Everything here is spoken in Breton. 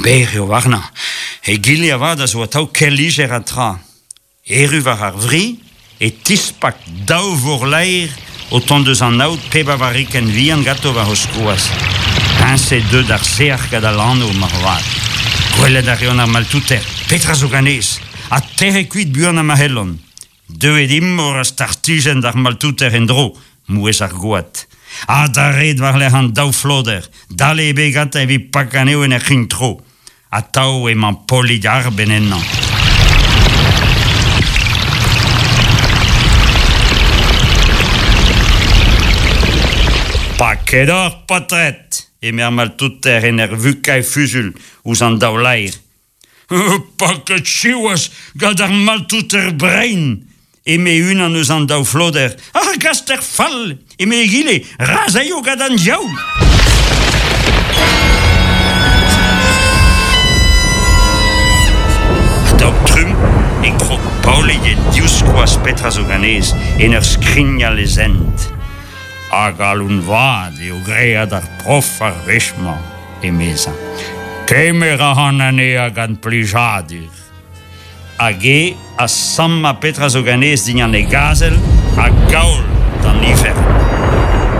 Berr eo warnañ. Egile avat a zo atav kel lijer ha tra. Erru war ar vri e tispak daou vorlaer o tont eus an aod pep a varrikenn vihan ganto war o skoaz. Peñse deut ar sec'h gant al lanv moarvat. Gwelet a reont ar maltouter. Petra zo ganez? Ha tec'het kuit buan ha ma c'hellont. Deuet imor ha startijenn d'ar maltouter en-dro, mouezh ar goad. Ha d'ar red war-lerc'h an daou floder, dale ebet gantañ evit pakañ anezho en ur c'hign-tro. Atav emañ Polig arbenn ennañ. Paket oc'h, paotred! eme ar maltouter en ur vukañ e fuzul ouzh an daou laer. Paket siwazh gant ar maltouter brein! eme unan eus an daou floder. Ar gaster fall! eme egile, ra 'z aio gant an diaoul! A-daol-trumm e krog Paolig e divskoaz petra zo ganez en ur skrignal e zent. A galon vat eo graet ar prof ar wech-mañ, emezañ. Kemer a ran anezhañ gant plijadur. Hag e a sammañ petra zo ganez dindan e gazel ha gaol d'an ifern.